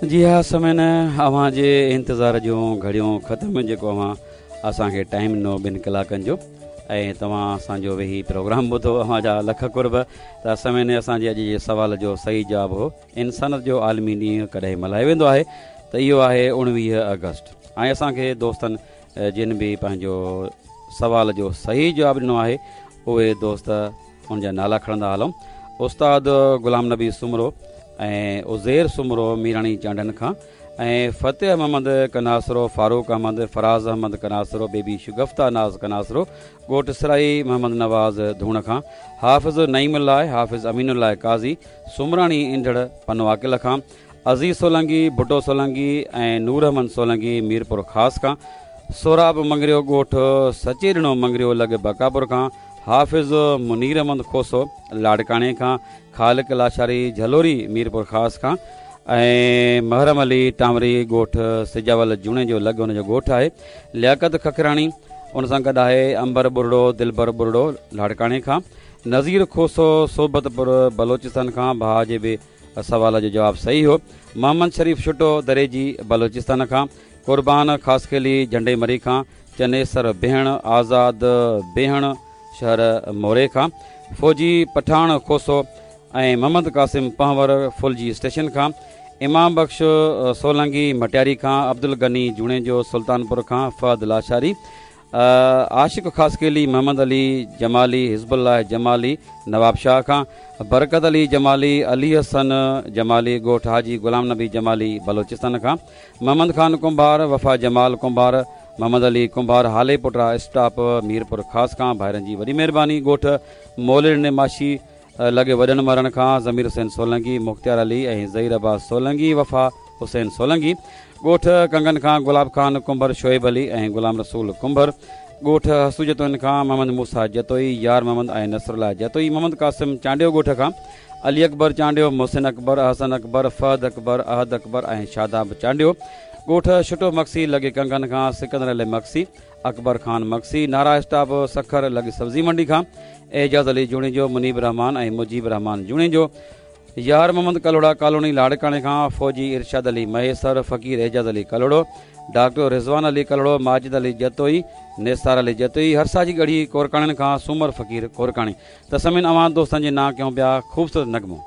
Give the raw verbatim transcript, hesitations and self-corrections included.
جي ها سامعين، اوهان جي انتظار جون گهڙيون ختم، جيڪو اوهان اسان کي ٽائيم ڏنو ٻن ڪلاڪن جو ۽ توهان اسان جو ويهي پروگرام ٻڌو، اوهان جا لک قرب. ته سامعين، اسان جي اڄ جي سوال جو صحيح جواب هو انسانيت جو عالمي ڏينهن ڪڏهن ملهايو ويندو آهي؟ ته اهو آهي اڻويهه آگسٽ. ۽ اسان کي دوستن جن به پنهنجو سوال جو صحيح جواب ڏنو آهي، اهي دوست ان جا نالا کڻندا هلون. استاد غلام نبي سومرو ۽ عزير سومرو ميراڻي چانڊن کان، ۽ فتح محمد ڪناسرو، فاروق احمد، فراز احمد ڪناسرو، بيبي شگفته ناز ڪناسرو ڳوٺ سرائي محمد نواز ڌوڻ کان، حافظ نعيم الله، حافظ امين الله قاضي سومراڻي انڍڙ پنو عاقل کان، عزيز سولنگي، ڀٽو سولنگي ۽ نور احمد سولنگي ميرپور خاص کان، سهراب مڱريو ڳوٺ سچيڏنو مڱريو لڳ بڪاپور کان، حافظ منير احمد کوسو لاڙڪاڻي کان، خالق لاشاري جهلوري ميرپور خاص کان، ۽ محرم علي ٽانوري ڳوٺ سجاول جوڻيجو لڳ ان جو ڳوٺ آهي، لياقت ککراڻي ان سان گڏ آهي، امبر ٻرڙو، دلبر ٻرڙو لاڙڪاڻي کان، نذير کوسو صحبت پور بلوچستان کان، ڀاء جي به سوال جو جواب صحيح هو، محمد شريف شٽو دريجي بلوچستان کان، قربان خاصخيلي جهنڊي مري کان، چنيسر بيهڻ، آزاد بيهڻ شهر موري کان، فوجي پٺاڻ کوسو ۽ محمد قاسم پنهور ڦلجي اسٽيشن کان، امام بخش سولنگي مٽياري کان، عبدالغني جوڻيجو سلطانپور کان، فهد لاشاري، عاشق خاصخيلي، محمد علي جمالي، حزب الله جمالي نواب شاهه کان، برڪت علي جمالي، علي حسن جمالي ڳوٺ حاجي غلام نبي جمالي بلوچستان کان، محمد خان ڪنڀار، وفا جمال ڪنڀار، محمد علي ڪنڀار هالي پٽا اسٽاپ ميرپور خاص کان، ڀائرن جي وڏي مهرباني. ڳوٺ مولڙ ماشي لڳي وڏن مرڻ کان ضمير حسين سولنگي، مختيار علي ۽ ظهير عباس سولنگي، وفا حسين سولنگي. ڳوٺ ڪنگن کان گلاب خان ڪنڀر، شعيب علي ۽ غلام رسول ڪنڀر. ڳوٺ حسو جتوئين کان محمد موسيٰ جتوئي، يار محمد ۽ نصر الله جتوئي. محمد قاسم چانڊيو ڳوٺ کان علي اڪبر چانڊيو، محسن اڪبر، حسن اڪبر، فهد اڪبر، احد اڪبر ۽ شاداب چانڊيو. ڳوٺ شٽو مگسي لڳي ڪنگن کان سڪندر علي مگسي، اڪبر خان مگسي. نارا اسٽاپ سکر لڳي سبزي منڊي کان اعجاز علي جوڻيجو، منيب رحمان ۽ مجيب رحمان جوڻيجو. يار محمد ڪلهوڙا ڪالوني لاڙڪاڻي کان فوجي ارشاد علي مهيسر، فقير اعجاز علي ڪلهوڙو، ڊاڪٽر رضوان علي ڪلهوڙو، ماجد علي جتوئي، نثار علي جتوئي. هرساجي ڳڙهي ڪورڪاڻين کان سومر فقير ڪورڪاڻي. ته سامعين، اوهان دوستن جي نانء ڪيون پيا خوبصورت نغمو.